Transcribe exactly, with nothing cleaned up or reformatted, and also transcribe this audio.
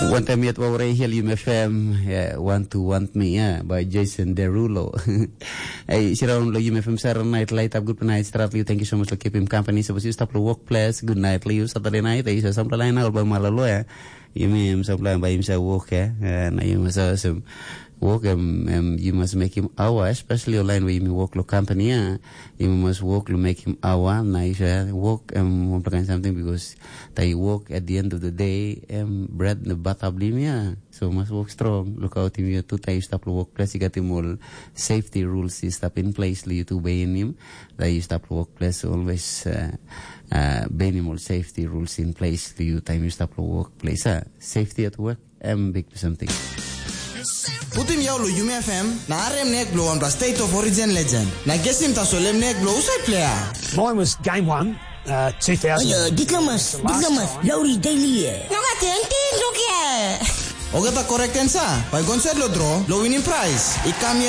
Wantaim yet wau rei hiel Yum F M, yeah, Want to Want Me, yeah, by Jason Derulo. Hey, siraun lo Yum F M Saturday night, light up, good night, stratly, thank you so much for keeping company. So, you stop the workplace, good night, Leo, Saturday night, eh, isa sampla lain, all by Malalo, yeah. Yumi em sampla by himself work, yeah. Eh, na yumi sa sem work em, em, you must make him hour, especially online where you work lo company, yeah. You must work to make him hour, na you say work em, one kind something because they work at the end of the day, em, bread the bath up lim, yeah. So must work strong. Look out him, you two times stop lo workplace, you got him all safety rules, you stop in place, you two bay in him. They stop lo workplace, always, uh, uh, bay in him all safety rules in place, you time you stop lo workplace, ah. Safety at work, em big something. Putim yau lo Yumi F M, na arem nek blo wanpela State of Origin legend. Na gesim tasol em nek blo usai player. Mine was game one, uh, two thousand. Hello, diplomas, diplomas, Lowry Daily. No ka ten tin rukia. Ogata correct answer. Bai gonset lo draw, lo winning prize. I kam yet